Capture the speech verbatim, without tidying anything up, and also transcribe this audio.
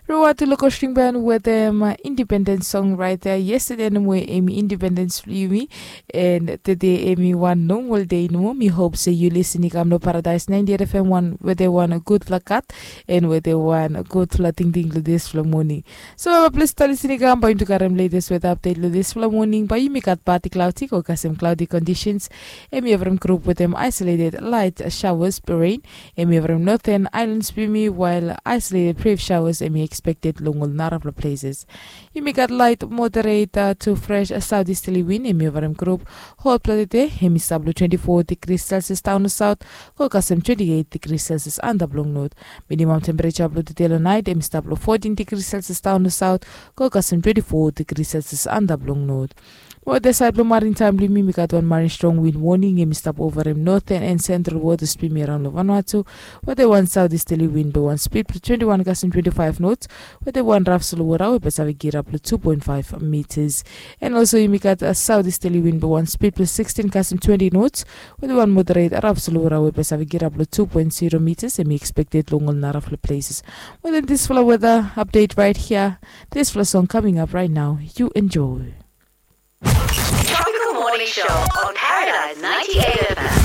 Rua tu long kosting ban wetem independens song raet ya yestede nomo em i independens blong yumi. And tede em i wan nomol dei nomo mi hop se yu lisin i kam long paradaes nainti et fm wan wetem wan gudfala kat and wetem wan gudfala tingting long dispela moning. So plis tali sini kam bai yumi tu karim letes weta apdet long dispela moning bai yumi gat pati klauti go kasem klauti kondisens. Em i evrim grup wetem aisoleted lait shawas berein. Em i evrim noten ailans blong yumi wael aisoleted brif shawas em i ekspekted long ol narapela pleses. Yumi gat lait moderet tu fres saut istali win em i ovarim grup. Hotpela tete em i stap long twenti fo digri selsias daun long saut go kasem twenti eit digri selsias antap long not. Minimam tempereja blong tete long nait em i stap long fotin digri selsias daun long saut go kasem twenti fo digri selsias antap long not. Weta sait blong marin taim blong yumi mi gat wan marin strong win woning em i stap ovarim noten en sentral wotas blong yumi araun long vanua tu. Weta wan saut istali win blong wan spid blong twenti wan kasem twenti faiv nots. Weta wan raf solowora we bai save girap long tu poen faiv mitas. En olso yumi gat saut istali win blong wan spid blong sikstin kasem twenti nots. Weta wan moderet raf solowora we bai save girap long tu poen zero mitas em i ekspekted long ol narafala pleses. Wetem disfala weta apdet rait hia. Disfala song kaming ap rait nau. Yu enjoy. Tropical Morning Show on Paradise ninety-eight F M.